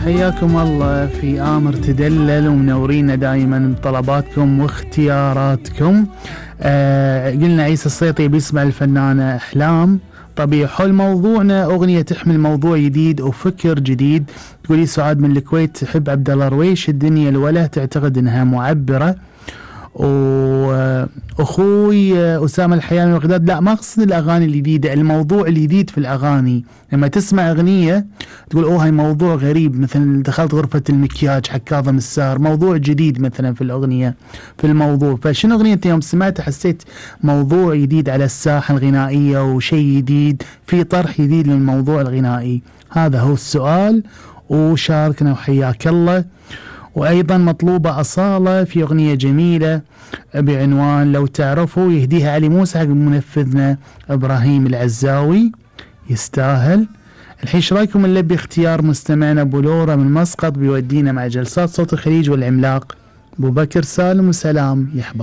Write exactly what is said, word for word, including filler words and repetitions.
حياكم الله في آمر تدلل ومنورينا دائما بطلباتكم واختياراتكم. آه قلنا عيسى السيطي بيسمع الفنانة أحلام طبيعي. حول موضوعنا أغنية تحمل موضوع جديد وفكر جديد. تقولي سعاد من الكويت تحب عبد الله رويش الدنيا الوله، تعتقد انها معبرة. واخوي اسامه الحياني وغداد لا ما اقصد الاغاني الجديده، الموضوع الجديد في الاغاني. لما تسمع اغنيه تقول اوه هاي موضوع غريب، مثلا دخلت غرفه المكياج حق كاظم الساهر، موضوع جديد مثلا في الاغنيه في الموضوع. فشنو اغنيه يوم سمعتها حسيت موضوع جديد على الساحه الغنائيه وشيء جديد، في طرح جديد للموضوع الغنائي. هذا هو السؤال وشاركنا وحياك الله. وأيضا مطلوبة أصالة في أغنية جميلة بعنوان لو تعرفوا، يهديها علي موسى حق منفذنا إبراهيم العزاوي، يستاهل. الحين ايش رايكم نلبي اختيار مستمعنا بولورا من مسقط بيودينا مع جلسات صوت الخليج والعملاق أبو بكر سالم وسلام يا أحباب.